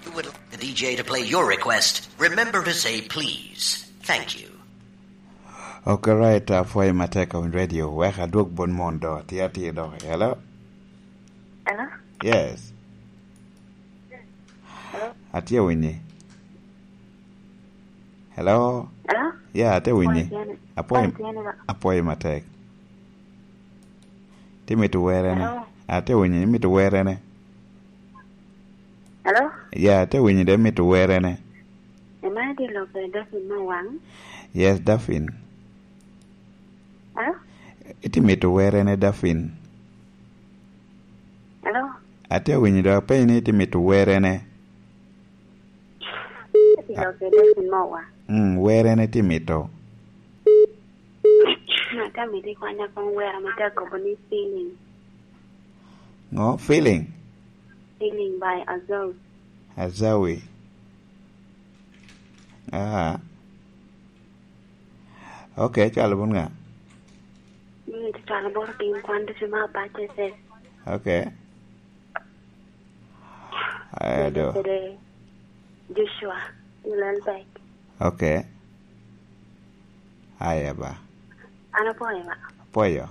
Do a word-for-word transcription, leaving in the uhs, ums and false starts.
You would like the D J to play your request. Remember to say please. Thank you. Okay, right, uh, for my take on radio, wek adwog bon mon do, tia tia do. Hello? Hello? Yes. Hello? Atia winyi. Hello? Hello? Yeah, atia winyi. Apoyo, apoyo matek. Timito werene. Hello? Atia winyi, imito werene. Hello? Ya, ate winyo de mito werene. Am I the local Daphine Mawang? Yes, Daphine. Hello? Iti mito werene, Daphine. Hello? Ate winyo do apenyo ni iti mito werene. The local Daphine Mawang. Mm, werene iti mito. Ate mito ikwanya kong wera ma te akobo ni feeling. Ngo? Feeling? Feeling by Azawi. Azawi. Ah. Okay, cwalo bun nga? Ni cwalo bot piny kwan ducu ma abatte se. Okay. Aya do. Kede Joshua, Ilal Bek. Okay. Aya ba. An apoyo ba. Apoyo.